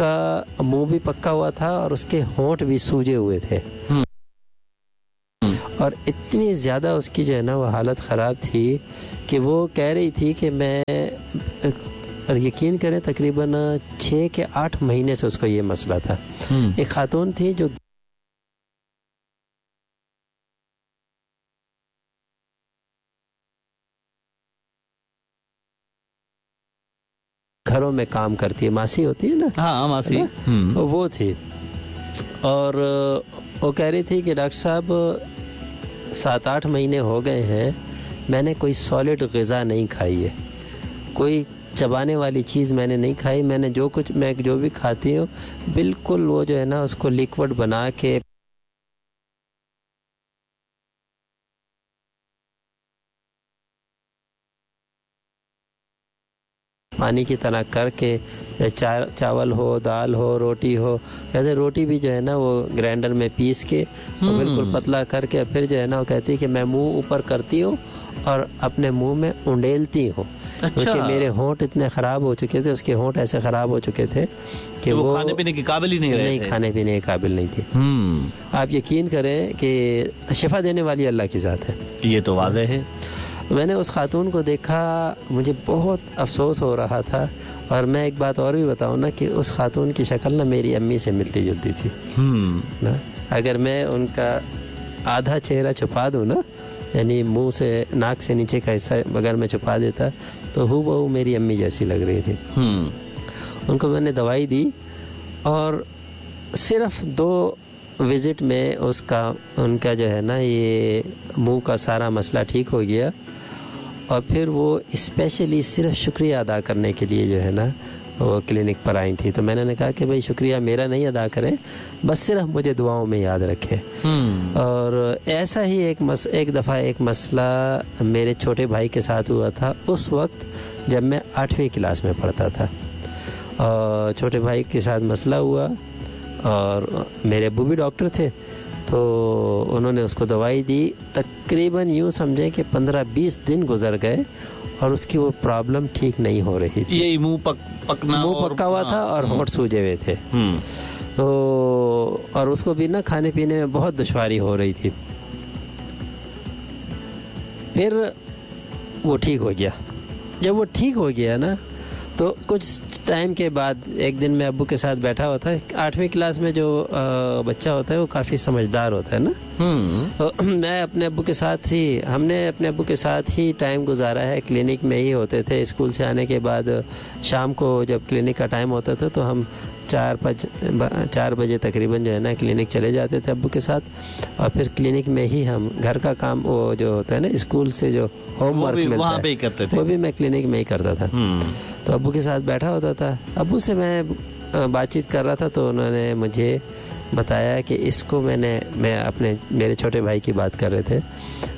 उसका मुंह भी पक्का हुआ था और उसके होंठ भी सूजे हुए थे और इतनी ज़्यादा उसकी जो है ना वो हालत ख़राब थी कि वो कह रही थी कि मैं, और यकीन करें तकरीबन 6 के 8 महीने से उसको ये मसला था। एक खातून थी जो घरों में काम करती है, मासी होती है ना, हाँ मासी, वो थी। और वो कह रही थी कि डॉक्टर साहब 7-8 महीने हो गए हैं, मैंने कोई सॉलिड ग़िज़ा नहीं खाई है, कोई चबाने वाली चीज़ मैंने नहीं खाई, मैंने जो कुछ मैं जो भी खाती हूँ बिल्कुल वो जो है ना उसको लिक्विड बना के पानी की तरह करके, चावल हो, दाल हो, रोटी हो, कहते रोटी भी जो है ना वो ग्राइंडर में पीस के और बिल्कुल पतला करके, फिर जो है ना वो कहती है कि मैं मुंह ऊपर करती हूँ और अपने मुंह में उंडेलती हूँ। अच्छा। क्योंकि मेरे होंठ इतने ख़राब हो चुके थे, उसके होंठ ऐसे ख़राब हो चुके थे कि वो खाने पीने के काबिल ही नहीं रहे थे। खाने पीने के काबिल नहीं थे। आप यकीन करें कि शिफा देने वाली अल्लाह की ज़ात है, ये तो वाज़ेह है। मैंने उस खातून को देखा, मुझे बहुत अफसोस हो रहा था। और मैं एक बात और भी बताऊँ ना कि उस खातून की शक्ल ना मेरी अम्मी से मिलती जुलती थी ना। अगर मैं उनका आधा चेहरा छुपा दूँ ना, यानी मुंह से नाक से नीचे का हिस्सा अगर मैं छुपा देता तो हूबहू मेरी अम्मी जैसी लग रही थी। उनको मैंने दवाई दी और सिर्फ 2 विज़िट में उसका उनका जो है ना ये मुंह का सारा मसला ठीक हो गया। और फिर वो स्पेशली सिर्फ शुक्रिया अदा करने के लिए जो है ना वो क्लिनिक पर आई थी। तो मैंने कहा कि भाई शुक्रिया मेरा नहीं अदा करें, बस सिर्फ मुझे दुआओं में याद रखें। और ऐसा ही एक दफ़ा एक मसला मेरे छोटे भाई के साथ हुआ था, उस वक्त जब मैं 8वीं क्लास में पढ़ता था। और छोटे भाई के साथ मसला हुआ और मेरे अब्बू भी डॉक्टर थे, तो उन्होंने उसको दवाई दी। तकरीबन यूँ समझें कि 15-20 दिन गुजर गए और उसकी वो प्रॉब्लम ठीक नहीं हो रही थी। यही मुंह पकना, मुंह पक्का हुआ था और होंठ सूजे हुए थे। तो और उसको भी ना खाने पीने में बहुत दुश्वारी हो रही थी। फिर वो ठीक हो गया। जब वो ठीक हो गया ना तो कुछ टाइम के बाद एक दिन मैं अब्बू के साथ बैठा हुआ था। 8वीं क्लास में जो बच्चा होता है वो काफ़ी समझदार होता है ना। तो मैं अपने अब्बू के साथ ही, हमने अपने अब्बू के साथ ही टाइम गुजारा है, क्लिनिक में ही होते थे। स्कूल से आने के बाद शाम को जब क्लिनिक का टाइम होता था तो हम 4 बजे तकरीबन जो है ना क्लिनिक चले जाते थे अब्बू के साथ। और फिर क्लिनिक में ही हम घर का काम वो जो होता है ना स्कूल से जो होमवर्क मिलता है वहाँ पे ही करते थे, वो भी मैं क्लिनिक में ही करता था। तो अब्बू के साथ बैठा होता था, अब्बू से मैं बातचीत कर रहा था तो उन्होंने मुझे बताया कि इसको मैं अपने मेरे छोटे भाई की बात कर रहे थे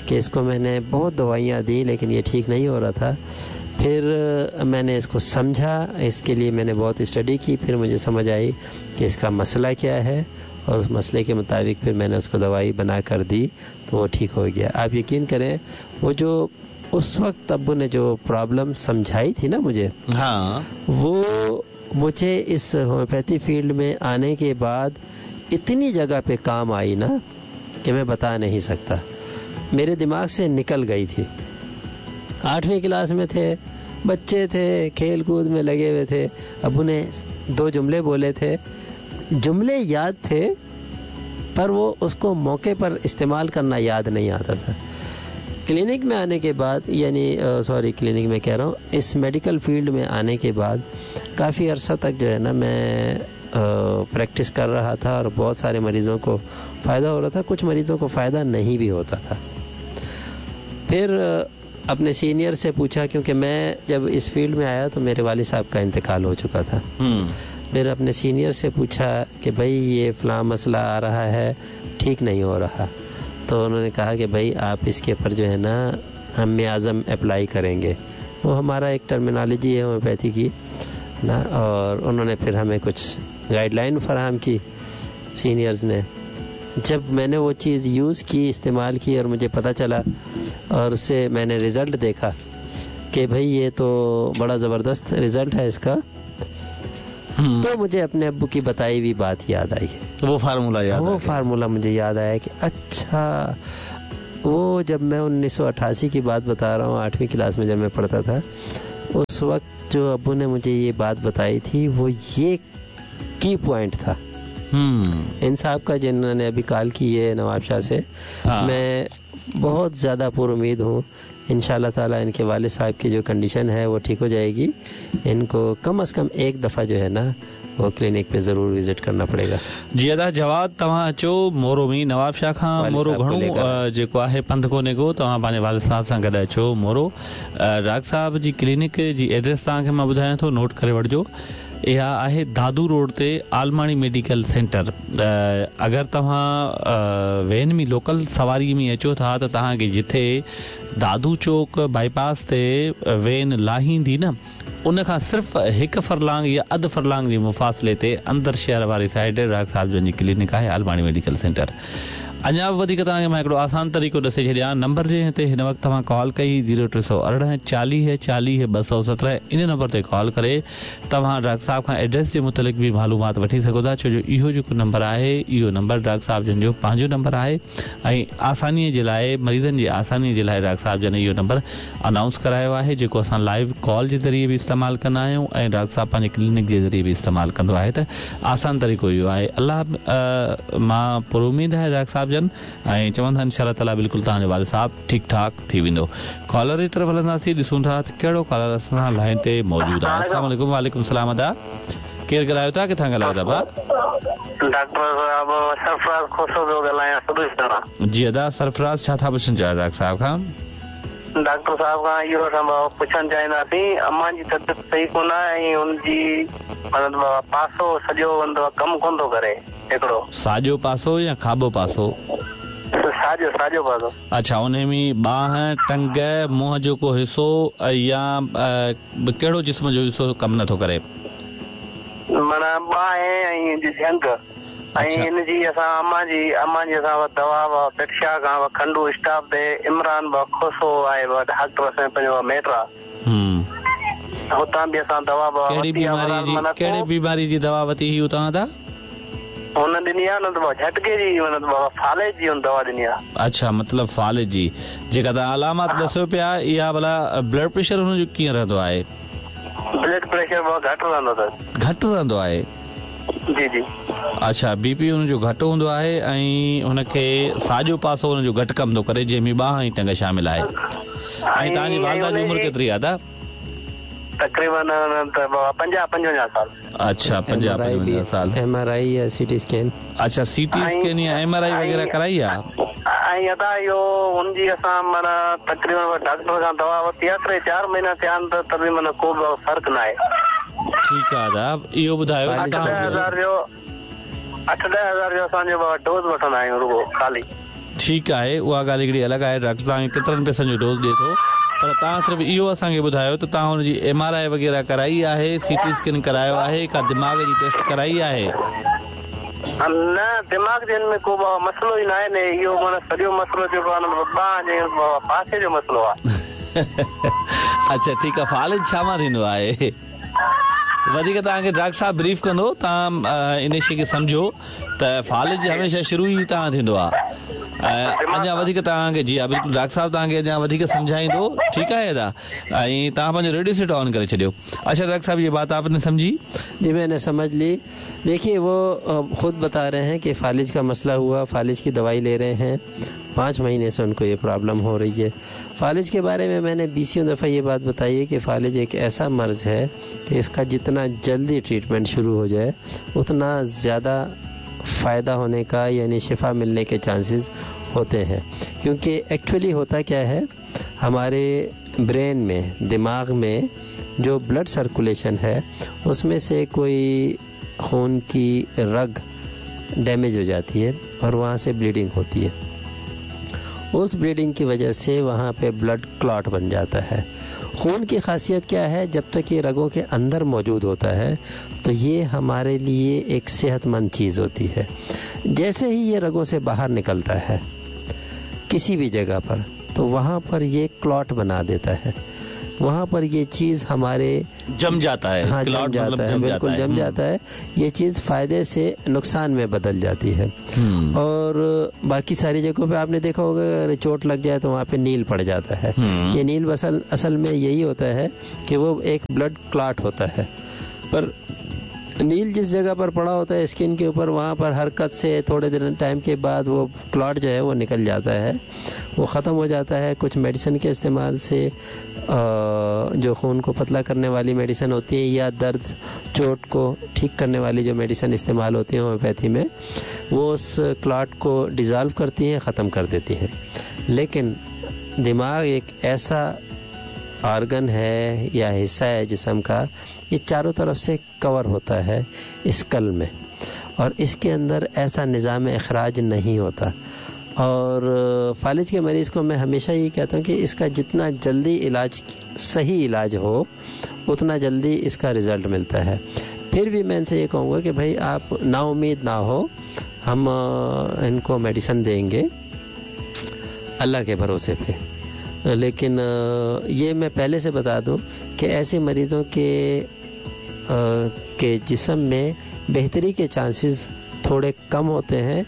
कि इसको मैंने बहुत दवाइयाँ दी लेकिन ये ठीक नहीं हो रहा था। फिर मैंने इसको समझा, इसके लिए मैंने बहुत स्टडी की, फिर मुझे समझ आई कि इसका मसला क्या है और उस मसले के मुताबिक फिर मैंने उसको दवाई बना कर दी तो वो ठीक हो गया। आप यकीन करें वो जो उस वक्त अब्बू ने जो प्रॉब्लम समझाई थी ना मुझे, हाँ, वो मुझे इस होम्योपैथी फील्ड में आने के बाद इतनी जगह पे काम आई ना कि मैं बता नहीं सकता। मेरे दिमाग से निकल गई थी। 8वीं क्लास में थे, बच्चे थे, खेल कूद में लगे हुए थे। अब्बू ने 2 जुमले बोले थे, जुमले याद थे पर वो उसको मौके पर इस्तेमाल करना याद नहीं आता था। क्लिनिक में आने के बाद, यानी सॉरी क्लिनिक में कह रहा हूँ, इस मेडिकल फील्ड में आने के बाद काफ़ी अरसा तक जो है ना मैं प्रैक्टिस कर रहा था और बहुत सारे मरीज़ों को फ़ायदा हो रहा था, कुछ मरीज़ों को फ़ायदा नहीं भी होता था। फिर अपने सीनियर से पूछा, क्योंकि मैं जब इस फील्ड में आया तो मेरे वालिद साहब का इंतकाल हो चुका था। फिर अपने सीनियर से पूछा कि भाई ये फ़लाँ मसला आ रहा है, ठीक नहीं हो रहा। तो उन्होंने कहा कि भाई आप इसके ऊपर जो है ना हम मियाज़म अप्लाई करेंगे, वो हमारा एक टर्मिनोलॉजी है होम्योपैथी की ना। और उन्होंने फिर हमें कुछ गाइडलाइन फराहम की सीनियर्स ने। जब मैंने वो चीज़ यूज़ की, इस्तेमाल की और मुझे पता चला और उससे मैंने रिज़ल्ट देखा कि भाई ये तो बड़ा ज़बरदस्त रिज़ल्ट है इसका। तो मुझे अपने अब्बू की बताई हुई बात याद आई। वो फार्मूला याद, वो फार्मूला मुझे याद आया कि अच्छा, वो जब मैं 1988 की बात बता रहा हूँ, 8वीं क्लास में जब मैं पढ़ता था, उस वक्त जो अब्बू ने मुझे ये बात बताई थी वो ये की पॉइंट था। इन साहब का जिन्होंने अभी कॉल की है नवाबशाह से, मैं बहुत ज़्यादा पुरउम्मीद हूँ इंशाअल्लाह ताला इनके वालिद साहब की जो कंडीशन है वो ठीक हो जाएगी। इनको कम अज़ कम एक दफ़ा जो है ना वो क्लिनिक पे ज़रूर विज़िट करना पड़ेगा। जी अदा जवाब तव्हां अचो मोरो में नवाबशाह खां मोरो घणो जेको आहे पंध कोन्हे को, तव्हां पंहिंजे वालिद साहब सां गॾु अचो मोरो। डॉक्टर साहब जी क्लिनिक जी एड्रेस तव्हांखे मां ॿुधायां थो, नोट करे वठिजो। इहा आहे दादू रोड ते आलमाणी मेडिकल सेंटर। अगरि तव्हां when में लोकल सवारी में अचो था त तव्हांखे जिथे दादू चौक बाईपास ते when लाहींदी न, उन खां सिर्फ़ हिकु फरलांग या अधु फरलांग जे मुफ़ासिले ते अंदरि शहर वारी साइड डॉक्टर साहब जन जी क्लिनिक आहे आलमाणी मेडिकल सेंटर। अञा बि वधीक तव्हांखे मां हिकिड़ो आसान तरीक़ो ॾिसे छॾियां। नंबर जंहिं ते हिन वक़्तु तव्हां कॉल कई 0318 40 40 217, इन नंबर ते कॉल करे तव्हां डॉक्टर साहब खां एड्रेस जे मुतालिक़ बि मालूमात वठी सघो था, छो जो इहो जेको नंबर आहे इहो नंबर डॉक्टर साहब जन जो पंहिंजो नंबर आहे ऐं आसानीअ जे लाइ, मरीज़नि जी आसानीअ जे लाइ डॉक्टर साहब जन इहो नंबर अनाउंस करायो आहे, जेको असां लाइव कॉल जे ज़रिए बि इस्तेमालु कंदा आहियूं ऐं डॉक्टर साहब पंहिंजे क्लिनिक जे ज़रिए बि इस्तेमालु कंदो आहे। त आसान तरीक़ो इहो आहे। अलाह मां पुर उमेद आहे डॉक्टर साहब जन ऐं चवंदा इंशाअल्लाह ताला बिल्कुलु तव्हांजो वालिद साहब ठीकु ठाक थी वेंदो। कॉलर जी तरफ़ हलंदासीं, ॾिसूं था त कहिड़ो कॉलर असां लाइन ते मौजूदु आहे। अस्सलाम वालेकुम। वालेकुम सलाम। अदा केरु ॻाल्हायो था, किथां ॻाल्हायो था भाउ? डॉक्टर साहब सरफराज़ खोसो पियो ॻाल्हायां। जी अदा सरफराज़, छा था पुछणु चाहियो डॉक्टर साहब खां? डॉक्टर साहब खां इहो असां पुछणु चाहींदासीं, अम्मा जी तबियत सही कोन आहे ऐं हुनजी मतिलबु पासो सॼो कमु कोन थो करे। हिकिड़ो साॼो पासो या खाॿो पासो? साॼो, साॼो पासो। अच्छा, उन में ॿांह, टंग, मुंहं जो को हिसो या कहिड़ो जिस्म जो हिसो कमु नथो करे? माना ॿांह ऐं जंघ ऐं हिन जी असां अम्मा जी असां दवा पेटशाह खां खंडू स्टाफ ते इमरान खोसो आहे डॉक्टर असांजो पंहिंजो मेट आहे, हुतां बि असां दवा। कहिड़ी बीमारी जी दवा वरिती हुई हुतां? ता हुन ॾिनी आहे न झटके जी, फालेज जी दवा ॾिनी आहे। अच्छा, मतिलबु फालेज जी जेका तव्हां अलामत ॾिसो पिया, इहा भला ब्लड प्रेशर हुनजो कीअं रहंदो आहे? ब्लड प्रेशर घटि रहंदो अथसि। घटि रहंदो आहे? जी जी। अच्छा, बीपी हुनजो घटि हूंदो आहे ऐं हुनखे साॼो पासो हुनजो घटि कमु थो करे, जंहिंमें ॿांह ऐं टंग शामिल आहे। ऐं तव्हांजी वालिदा जी उमिरि केतिरी आहे? ता तक़रीबन 50-55 साल। अच्छा, 50-55 साल। एमआरआई या सीटी स्कैन? अच्छा, सीटी स्कैन या एमआरआई वग़ैरह कराई आहे? ऐं अदा इहो हुनजी असां माना तक़रीबन डॉक्टर खां दवा वरिती आहे, 3-4 महीना थिया आहिनि त बि माना को बि फ़र्क़ु न आहे। ठीकु आहे दादा, इहो ॿुधायो 8-10 हज़ार जो असांजो डोज़ वठंदा आहियूं रुॻो ख़ाली। ठीकु आहे, उहा ॻाल्हि हिकिड़ी अलॻि आहे। डॉक्टर तव्हांखे केतिरनि पैसनि जो डोज़ ॾिए थो, पर तव्हां सिर्फ़ु इहो असांखे ॿुधायो त तव्हां हुनजी एमआरआई वग़ैरह कराई आहे, सीटी स्कैन करायो आहे, का दिमाग़ जी टेस्ट कराई आहे? न, दिमाग़ जे में को मसइलो ई न आहे न, इहो माना सॼो मसइलो जेको आहे ॿांह जे पासे जो मसइलो आहे। अच्छा ठीकु आहे। फालिज छा मां थींदो आहे? वधीक तव्हांखे डॉक्टर साहब ब्रीफ कंदो, तव्हां इन शइ खे सम्झो त फालिज हमेशह शुरू ई तव्हां थींदो आहे। अञा वधीक तव्हांखे जी हा बिल्कुलु डॉक्टर साहब तव्हांखे अञा वधीक सम्झाईंदो। ठीकु आहे अदा, ऐं तव्हां पंहिंजो रेडियो सेट ऑन करे छॾियो। अच्छा डॉक्टर साहब, ये बात आपने समझी? जी मैंने समझ ली। देखिए वो ख़ुद बता रहे हैं कि फालिज का मसला हुआ, फालिज की दवाई ले रहे हैं, 5 महीने से उनको ये प्रॉब्लम हो रही है। फालिज के बारे में मैंने 20 दफ़ा ये बात बताई है कि फालिज एक ऐसा मर्ज़ है कि इसका जितना जल्दी ट्रीटमेंट शुरू हो जाए उतना ज़्यादा फ़ायदा होने का यानी शिफा मिलने के चांसेस होते हैं। क्योंकि एक्चुअली होता क्या है, हमारे ब्रेन में, दिमाग में जो ब्लड सर्कुलेशन है उसमें से कोई खून की रग डैमेज हो जाती है और वहाँ से ब्लीडिंग होती है। उस ब्लीडिंग की वजह से वहाँ पे ब्लड क्लॉट बन जाता है। खून की खासियत क्या है, जब तक ये रगों के अंदर मौजूद होता है तो ये हमारे लिए एक सेहतमंद चीज़ होती है। जैसे ही ये रगों से बाहर निकलता है किसी भी जगह पर, तो वहाँ पर ये क्लॉट बना देता है। वहाँ पर ये चीज़ हमारे जम जाता है। हाँ, जम जाता है, बिल्कुल जम जाता है। ये चीज़ फ़ायदे से नुकसान में बदल जाती है। और बाकी सारी जगहों पे आपने देखा होगा अगर चोट लग जाए तो वहाँ पे नील पड़ जाता है। ये नील असल में यही होता है कि वो एक ब्लड क्लॉट होता है, पर नील जिस जगह पर पड़ा होता है स्किन के ऊपर, वहाँ पर हरकत से थोड़े दिन टाइम के बाद वो क्लॉट जो है वो निकल जाता है, वो ख़त्म हो जाता है। कुछ मेडिसिन के इस्तेमाल से, जो खून को पतला करने वाली मेडिसिन होती है या दर्द चोट को ठीक करने वाली जो मेडिसिन इस्तेमाल होती है होम्योपैथी में, वो उस क्लॉट को डिज़ॉल्व करती हैं, ख़त्म कर देती हैं। लेकिन दिमाग एक ऐसा आर्गन है या हिस्सा है जिस्म का, ये चारों तरफ से कवर होता है स्कल में, और इसके अंदर ऐसा निज़ाम अखराज नहीं होता। और फालिज के मरीज़ को मैं हमेशा ये कहता हूँ कि इसका जितना जल्दी इलाज, सही इलाज हो, उतना जल्दी इसका रिज़ल्ट मिलता है। फिर भी मैं इनसे ये कहूँगा कि भाई आप ना उम्मीद ना हो, हम इनको मेडिसिन देंगे अल्लाह के भरोसे पे। लेकिन ये मैं पहले से बता दूं कि ऐसे मरीज़ों के जिस्म में बेहतरी के चांसेस थोड़े कम होते हैं,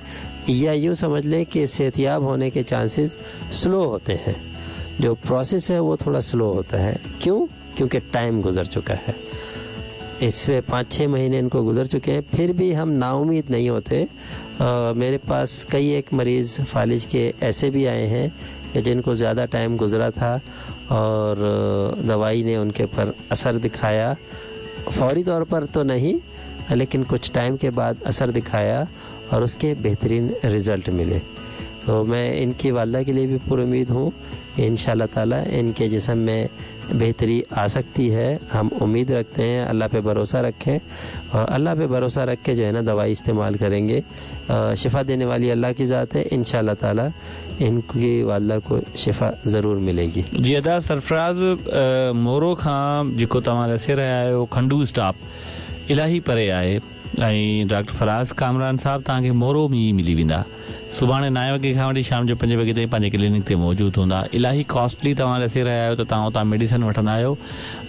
या यूँ समझ लें कि सेहतियाब होने के चांसेस स्लो होते हैं। जो प्रोसेस है वो थोड़ा स्लो होता है। क्यों? क्योंकि टाइम गुजर चुका है, इसमें 5-6 महीने इनको गुजर चुके हैं, फिर भी हम नाउमीद नहीं होते। मेरे पास कई एक मरीज़ फालिज के ऐसे भी आए हैं कि जिनको ज़्यादा टाइम गुजरा था और दवाई ने उनके पर असर दिखाया, फौरी तौर पर तो नहीं, लेकिन कुछ टाइम के बाद असर दिखाया और उसके बेहतरीन रिज़ल्ट मिले। तो मैं इनकी वालदा के लिए भी पूरी उम्मीद हूँ कि इंशाअल्लाह ताला इनके जिस्म में बेहतरी आ सकती है। हम उम्मीद रखते हैं, अल्लाह पे भरोसा रखें, और अल्लाह पे भरोसा रख के जो है ना दवाई इस्तेमाल करेंगे। शिफा देने वाली अल्लाह की ज़ात है, इंशाअल्लाह ताला इनकी वालदा को शिफा ज़रूर मिलेगी। जी अदा सरफराज़, मोरो खां जेको तव्हां ॾिसे रहिया आहियो खंडू स्टॉप इलाही परे आहे ऐं डॉक्टर फराज़ कामरान साहब तव्हांखे मोरो में ई मिली वेंदा। सुभाणे 9 वॻे खां वठी शाम जो 5 वॻे ताईं पंहिंजे क्लिनिक ते मौजूदु हूंदा। इलाही कॉस्टली तव्हां ॾिसे रहिया आहियो त तव्हां उतां मेडिसिन वठंदा आहियो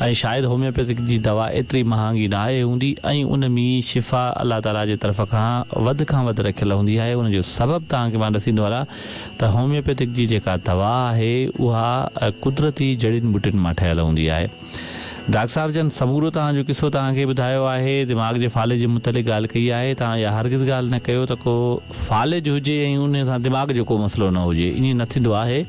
ऐं शायदि होम्योपैथिक जी दवा एतिरी महांगी न आहे हूंदी ऐं उन में शिफ़ा अलाह ताला जे तरफ़ खां वधि रखियल हूंदी आहे। उनजो सबबु तव्हांखे मां ॾसींदो हलां त होम्योपैथिक जी जेका दवा आहे उहा कुदरती जड़ियुनि ॿूटियुनि मां ठहियल हूंदी आहे। डॉक्टर साहब जन समूरो तव्हांजो किसो तव्हांखे ॿुधायो आहे, दिमाग़ जे फ़ालिज जे मुतालिक़ ॻाल्हि कई आहे। तव्हां इहा हरगिज़ ॻाल्हि न कयो त को फ़ालिज हुजे ऐं उन सां दिमाग़ जो को मसइलो न हुजे, ईअं न थींदो आहे।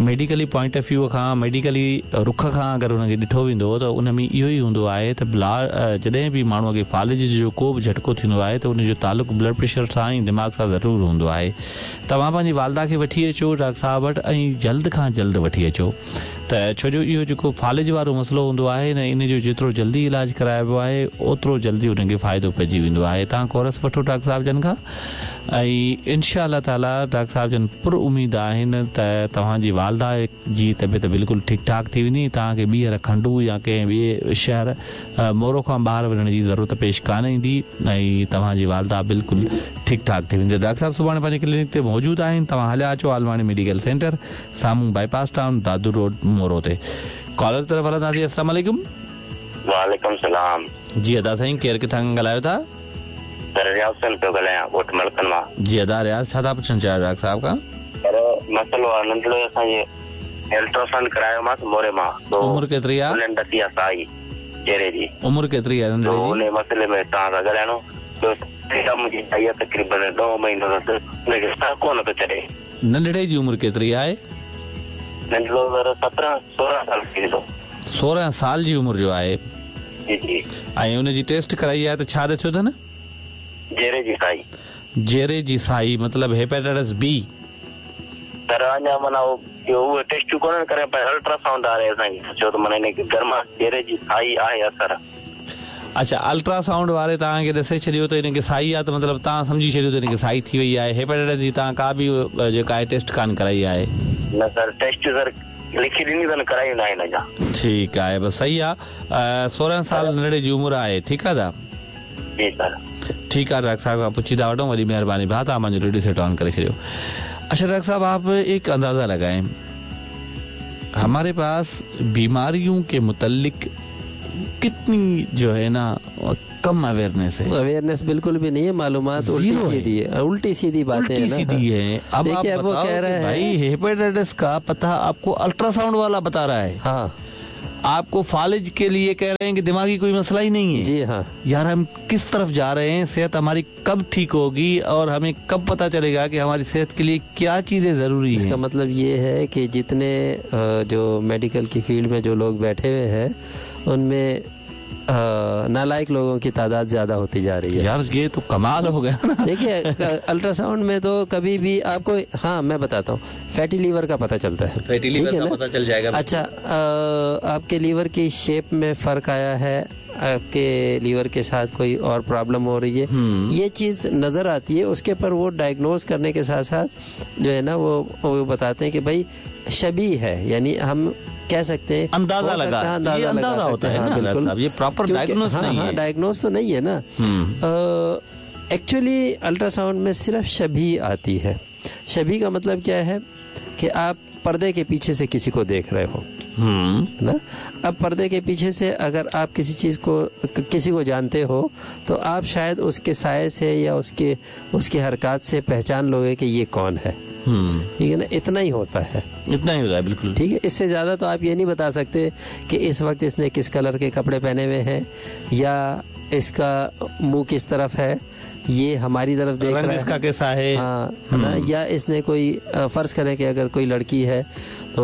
मेडिकली पॉइंट ऑफ व्यू खां, मेडिकली रुख खां अगरि हुनखे ॾिठो वेंदो त उन में इहो ई हूंदो आहे त जॾहिं बि माण्हूअ खे फ़ालिज जो को बि झटको थींदो आहे त उनजो तालुक़ु ब्लड प्रेशर सां ऐं दिमाग़ सां ज़रूरु हूंदो आहे। तव्हां पंहिंजी वालदा खे वठी अचो डॉक्टर साहब वटि ऐं जल्द खां जल्द वठी अचो, त छो जो इहो जेको फ़ालिज वारो मसइलो हूंदो आहे न, इन जो जेतिरो जल्दी इलाज कराइबो आहे ओतिरो जल्दी हुनखे फ़ाइदो पइजी वेंदो आहे। तव्हां कोरस वठो डॉक्टर साहब जन खां ऐं इनशा ताला डॉक्टर साहब जन पुर उमेद आहिनि त तव्हांजी वालदा जी तबियत बिल्कुलु ठीकु ठाक थी वेंदी। तव्हांखे ॿीहर खंडू या कंहिं ॿिए शहर मोरो खां ॿाहिरि वञण जी ज़रूरत पेश कान ईंदी ऐं तव्हांजी वालदा बिल्कुलु ठीकु ठाक थी वेंदी। डॉक्टर साहब सुभाणे पंहिंजे क्लिनिक ते मौजूदु आहिनि, तव्हां हलिया अचो आलवाणी मेडिकल सेंटर साम्हूं बाईपास टाउन दादू रोड मोरो ते। कॉलर तरफ़ हलंदासीं। अस्सलाम वालेकुम। वालेकुम सलाम। जी अदा साईं, केरु किथां ॻाल्हायो था? सर रियाज़ हुसैन पियो ॻाल्हायां, ॻोठ मलकनि मां। जी अदा रियाज़, छा था पुछणु चाहियो डॉक्टर साहब खां? सर मसइलो आहे नंढड़ो, असांजे अल्ट्रासाउंड करायोमांसि मोरे मां। उमिरि केतिरी आहे? उन्हनि ॾसी आहे साई चेहरे जी। उमिरि केतिरी आहे नंढड़े जी? उन मसइले में तव्हां सां ॻाल्हाइणो। मुंहिंजी आई आहे तक़रीबन 9 महीनो अथसि, हुनखे साह कोन थो चढ़े। नंढड़े जी उमिरि केतिरी आहे? नंढड़ो सर 17-16 साल थींदो। 16 साल जी उमिरि जो आहे। जी जी। ऐं उनजी टेस्ट कराई आहे त छा ॾिठो अथनि? जेरे जी साई। जेरे जी साई मतलब हेपेटाइटिस बी। सर अञा माना उहे टेस्टूं कोन करे, पर अल्ट्रासाउंड आहे असांखे छो त माना हिन गरमा जेरे जी साई आहे असर। अच्छा, अल्ट्रासाउंड वारे तव्हांखे ॾिसे छॾियो त हिनखे साई आहे त मतिलबु तव्हां सम्झी छॾियो त हिनखे साई थी वई आहे। हेपेटाइटिस जी तव्हां का बि जेका आहे टेस्ट कान कराई आहे? न सर, टेस्ट सर लिखी ॾिनी अथनि, कराई न आहिनि अञा। ठीकु आहे, बसि सही आहे। 16 साल नंढड़े जी उमिरि आहे, ठीकु आहे दादा? जी सर ठीकु आहे। डॉक्टर साहब खां पुछी था वठूं, वॾी महिरबानी भाउ, तव्हां पंहिंजो रेडियो सेट ऑन करे छॾियो। अच्छा डॉक्टर साहब, आप एक अंदाज़ा लगाएं, हमारे पास बीमारियों के मुतल्लिक कितनी जो है ना कम अवेयरनेस है। अवेयरनेस बिल्कुल भी नहीं है, मालूमात उल्टी सीधी है, उल्टी सीधी बातें हैं, सीधी है। अब आप वो कह रहे हैं भाई हेपेटाइटिस का पता आपको अल्ट्रासाउंड वाला बता रहा है, हाँ, आपको फालिज के लिए कह रहे हैं कि दिमागी कोई मसला ही नहीं है। जी हाँ। यार हम किस तरफ जा रहे हैं, सेहत हमारी कब ठीक होगी और हमें कब पता चलेगा कि हमारी सेहत के लिए क्या चीजें जरूरी हैं। इसका मतलब ये है कि जितने जो मेडिकल की फील्ड में जो लोग बैठे हुए हैं उनमें नालायक लोगों की तादाद ज़्यादा होती जा रही है। यार ये तो कमाल हो गया ना। देखिए अल्ट्रासाउंड में तो कभी भी आपको, हाँ मैं बताता हूँ, फैटी लीवर का पता चलता है, फैटी लीवर का पता चल जाएगा। अच्छा, आपके लीवर की शेप में फ़र्क आया है, आपके लीवर के साथ कोई और प्रॉब्लम हो रही है, ये चीज़ नज़र आती है। उसके पर वो डायग्नोज करने के साथ साथ जो है ना वो बताते हैं कि भाई शबी है, यानी हम कह सकते हैं अंदाजा लगा, अंदाजा लगा होता है ना, बिल्कुल। ये प्रॉपर डायग्नोज नहीं है, डायग्नोज तो नहीं है ना। एक्चुअली अल्ट्रासाउंड में सिर्फ शबी आती है। शबी का मतलब क्या है कि आप पर्दे के पीछे से किसी को देख रहे हो ना। अब पर्दे के पीछे से अगर आप किसी चीज़ को, किसी को जानते हो तो आप शायद उसके साये से या उसके उसकी हरकत से पहचान लोगे कि ये कौन है, ठीक है ना। इतना ही होता है, इतना ही होता है, बिल्कुल ठीक है। इससे ज़्यादा तो आप ये नहीं बता सकते कि इस वक्त इसने किस कलर के कपड़े पहने हुए हैं या इसका मुंह किस तरफ है, ये हमारी तरफ देख रहा है, इसका कैसा है, हाँ ना, या इसने कोई, फ़र्ज़ करें कि अगर कोई लड़की है तो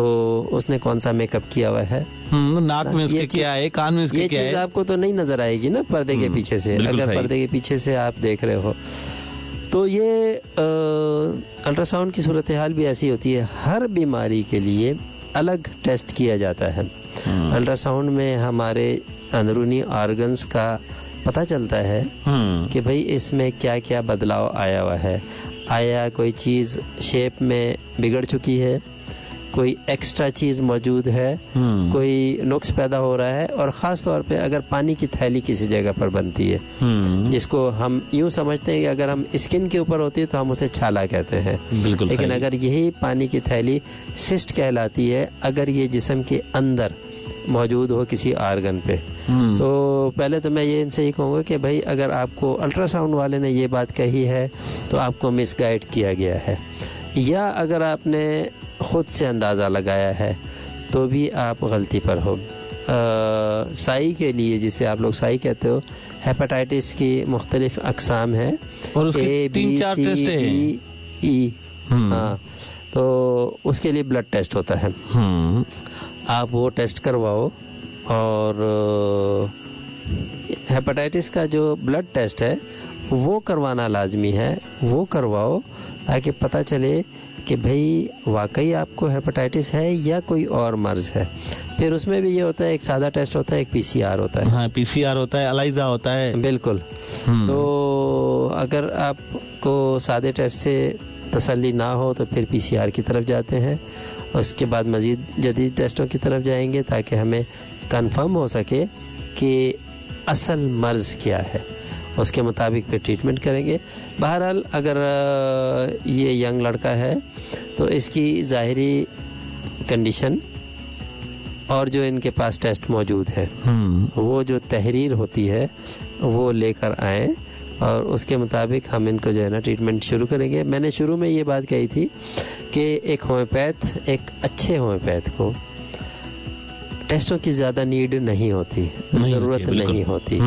उसने कौन सा मेकअप किया हुआ है, नाक में उसके क्या है, कान में उसके क्या है, ये चीज़ आपको तो नहीं नज़र आएगी ना पर्दे के पीछे से। अगर पर्दे के पीछे से आप देख रहे हो तो ये अल्ट्रासाउंड की सूरत हाल भी ऐसी होती है। हर बीमारी के लिए अलग टेस्ट किया जाता है। अल्ट्रासाउंड में हमारे अंदरूनी ऑर्गन्स का पता चलता है कि भाई इसमें क्या क्या बदलाव आया हुआ है, आया कोई चीज़ शेप में बिगड़ चुकी है, कोई एक्स्ट्रा चीज़ मौजूद है, कोई नुक्स पैदा हो रहा है। और ख़ास तौर पे अगर पानी की थैली किसी जगह पर बनती है, जिसको हम यूँ समझते हैं कि अगर हम स्किन के ऊपर होती है तो हम उसे छाला कहते हैं, बिल्कुल, लेकिन अगर यही पानी की थैली सिस्ट कहलाती है अगर ये जिस्म के अंदर मौजूद हो किसी आर्गन पे। तो पहले तो मैं ये इनसे ही कहूँगा कि भाई अगर आपको अल्ट्रासाउंड वाले ने ये बात कही है तो आपको मिसगाइड किया गया है, या अगर आपने ख़ुद से अंदाज़ा लगाया है तो भी आप गलती पर हो। साई के लिए, जिसे आप लोग साई कहते हो, हेपेटाइटिस की मुख्तलिफ अकसाम है और उसके A, B, 3-4 C, test Hain. D, E, हाँ, तो उसके लिए ब्लड टेस्ट होता है। आप वो टेस्ट करवाओ और हेपेटाइटिस का जो ब्लड टेस्ट है वो करवाना लाजमी है, वो करवाओ ताकि पता चले कि भाई वाकई आपको हेपेटाइटिस है या कोई और मर्ज है। फिर उसमें भी ये होता है, एक सादा टेस्ट होता है, एक पीसीआर होता है। हाँ, पीसीआर होता है, एलाइजा होता है, बिल्कुल। तो अगर आपको सादे टेस्ट से तसल्ली ना हो तो फिर पीसीआर की तरफ जाते हैं, उसके बाद मज़ीद जदीद टेस्टों की तरफ जाएंगे ताकि हमें कंफर्म हो सके कि असल मर्ज़ क्या है, उसके मुताबिक फिर ट्रीटमेंट करेंगे। बहरहाल अगर ये यंग लड़का है तो इसकी ज़ाहिरी कंडीशन और जो इनके पास टेस्ट मौजूद है वो जो तहरीर होती है वो लेकर आएँ और उसके मुताबिक हम इनको जो है ना ट्रीटमेंट शुरू करेंगे। मैंने शुरू में ये बात कही थी कि एक होम्योपैथ, एक अच्छे होम्योपैथ को टेस्टों की ज़्यादा नीड नहीं होती, ज़रूरत नहीं होती।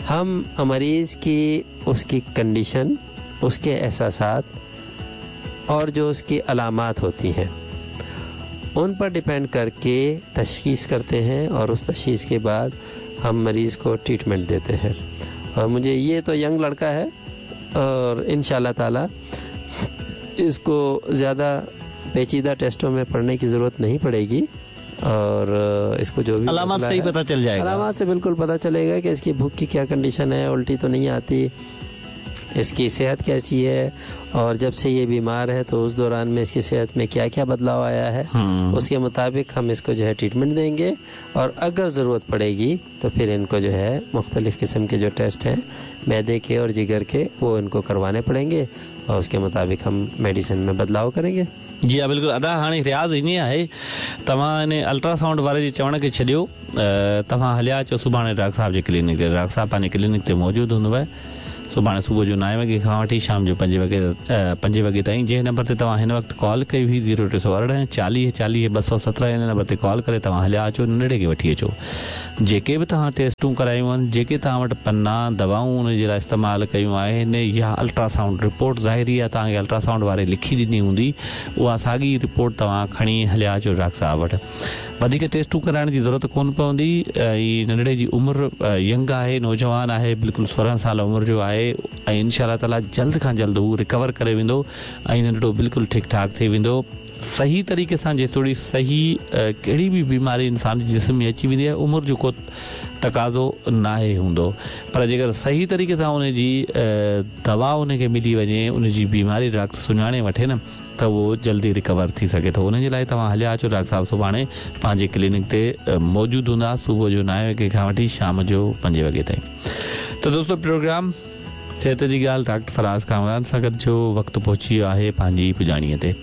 हम मरीज़ की उसकी कंडीशन, उसके एहसासात और जो उसकी अलामात होती हैं उन पर डिपेंड करके तशख़ीस करते हैं और उस तशख़ीस के बाद हम मरीज़ को ट्रीटमेंट देते हैं। और मुझे ये तो यंग लड़का है और इंशाअल्लाह ताला इसको ज़्यादा पेचीदा टेस्टों में पढ़ने की ज़रूरत नहीं पड़ेगी और इसको जो भी अलामात से ही पता चल जाएगा, अलामात से बिल्कुल पता चलेगा कि इसकी भूख की क्या कंडीशन है, उल्टी तो नहीं आती, इसकी सेहत कैसी है और जब से ये बीमार है तो उस दौरान में इसकी सेहत में क्या क्या बदलाव आया है, उसके मुताबिक हम इसको जो है ट्रीटमेंट देंगे। और अगर ज़रूरत पड़ेगी तो फिर इनको जो है मुख्तलिफ़ किस्म के जो टेस्ट हैं मैदे के और जिगर के, वो इनको करवाने पड़ेंगे और उसके मुताबिक हम मेडिसिन में बदलाव करेंगे। जी हा बिल्कुलु अदा, हाणे रियाज़ ईअं आहे, तव्हां इन अल्ट्रासाउंड वारे जे चवण खे छॾियो, तव्हां हलिया अचो सुभाणे डॉक्टर साहिब जे क्लिनिक ते। डॉक्टर साहिब पंहिंजे क्लिनिक ते मौजूदु हूंदव सुभाणे सुबुह जो 9 वॻे खां वठी शाम जो 5 वॻे ताईं। जंहिं नंबर ते तव्हां हिन वक़्तु कॉल कई हुई 0318 40 40 217, हिन नंबर ते कॉल करे तव्हां हलिया अचो, नंढड़े खे वठी अचो। जेके बि तव्हां टेस्टूं करायूं आहिनि, जेके तव्हां वटि पन्ना दवाऊं उन जे लाइ इस्तेमालु कयूं आहिनि या अल्ट्रासाउंड रिपोर्ट ज़ाहिरी आहे तव्हांखे अल्ट्रासाउंड वारे लिखी ॾिनी हूंदी, उहा साॻी रिपोर्ट तव्हां खणी हलिया अचो डॉक्टर साहिब वटि। वधीक टेस्टूं कराइण जी ज़रूरत कोन पवंदी। ऐं नंढड़े जी उमिरि यंग आहे, नौजवान आहे, बिल्कुलु 16 साल उमिरि जो आहे ऐं इनशा ताला जल्द खां जल्द हू रिकवर करे वेंदो ऐं नंढड़ो बिल्कुलु ठीकु ठाक थी वेंदो। सही तरीक़े सां जेतिरी सही कहिड़ी बि बीमारी इंसान जे जिस्म में अची वेंदी आहे, उमिरि जो को तक़ाज़ो नाहे हूंदो, पर जेकर सही तरीक़े सां उनजी दवा उनखे मिली वञे, उनजी बीमारी डॉक्टर सुञाणे वठे न, त उहो जल्दी रिकवर थी सघे थो। उनजे लाइ तव्हां हलिया अचो, डॉक्टर साहिबु सुभाणे पंहिंजे क्लिनिक ते मौजूदु हूंदा सुबुह जो 9 वॻे खां वठी शाम जो 5 वॻे ताईं। त दोस्तो, प्रोग्राम सिहत जी ॻाल्हि डॉक्टर फराज़ कामरान सां गॾु जो वक़्तु पहुची वियो आहे पंहिंजी पुॼाणीअ ते।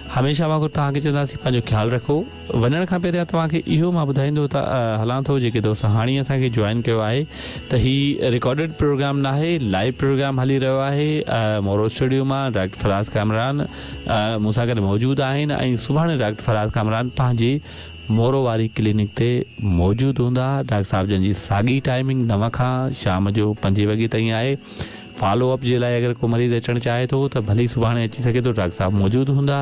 हमेशह वांगुरु तव्हांखे चवंदासीं पंहिंजो ख़्यालु रखो। वञण खां पहिरियां तव्हांखे इहो मां ॿुधाईंदो त हलां थो, जेके दोस्त हाणे असांखे जॉइन कयो आहे त ही रिकॉर्डेड प्रोग्राम न आहे, लाइव प्रोग्राम हली रहियो आहे। मोरो स्टूडियो मां डॉक्टर फराज़ कामरान मूंसां गॾु मौजूदु आहिनि ऐं सुभाणे डॉक्टर फराज़ कामरान पंहिंजे मोरो वारी क्लिनिक ते मौजूदु हूंदा। डॉक्टर साहिबु जन जी साॻी टाइमिंग 9 खां शाम जो 5 वॻे ताईं आहे। फॉलो अप जे लाइ अगरि को मरीज़ अचणु चाहे थो त भली सुभाणे अची सघे थो, डॉक्टर साहिबु मौजूदु हूंदा।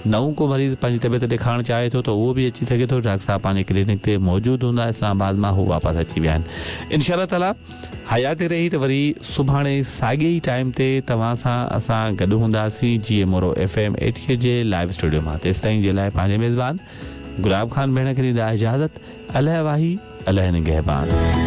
नओं को मरीज़ पंहिंजी तबियत ॾेखारणु चाहे थो त उहो बि अची सघे थो, डॉक्टर साहिबु पंहिंजे क्लिनिक ते मौजूदु हूंदा। इस्लामाबाद मां हू वापसि अची विया आहिनि। इनशा ताला हयाती रही त वरी सुभाणे साॻे ई टाइम ते तव्हां सां असां गॾु हूंदासीं जीअं मोरो FM 88 जे लाइव स्टूडियो मां। तेसि ताईं जे लाइ पंहिंजे मेज़बान गुलाब ख़ान भेण खे ॾींदा इजाज़त। अलाह वाही, अलाह निगहबान।